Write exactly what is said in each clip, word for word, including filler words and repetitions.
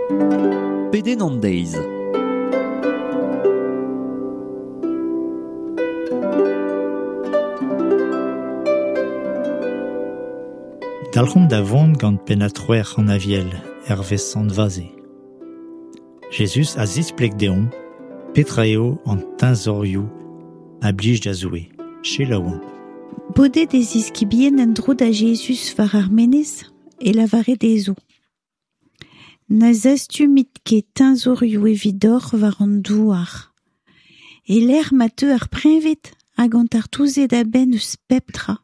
Pedenn an deiz. Dalc'homp da vont gant pennad c'hwec'h an Aviel, hervez Sant Vaze. Jezuz a zispleg deomp petra eo an teñzorioù a blij da Zoue. Selaouomp. Bodet e ziskibien en-dro da Jezuz war ar menez e lavare dezho. Na zastumit ket teñzorioù evidoc'h war an douar. E-lec'h ma teu ar preñved hag an tartouzed a-benn eus pep tra.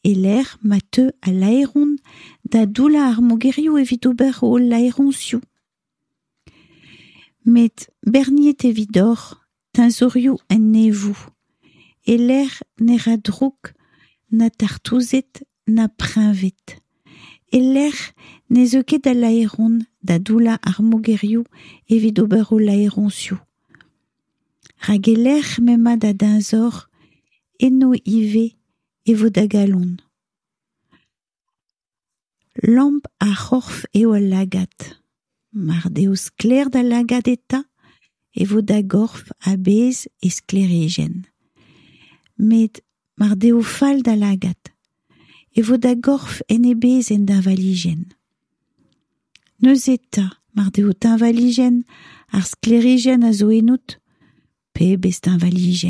E-lec'h ma teu al laeron da doullañ ar mogerioù evit ober o laeroñsioù. Met berniet evidoc'h teñzorioù en neñvoù. E-lec'h ne ra droug na tartouzed na preñved. E-lec'h ne zeu ket al laeron da doullañ ar mogerioù evit ober o laeroñsioù. Rak e-lec'h m'emañ da deñzor, eno ivez e vo da galon. Lamp ar c'horf eo al lagad. Mar deo sklaer da lagad eta, e vo da gorf a-bezh e sklêrijenn. Met mar deo fall da lagad, e vo da gorf en e bezh en deñvalijenn. Neuze eta, mar deo teñvalijenn ar sklêrijenn a zo ennout, pebezh teñvalijenn !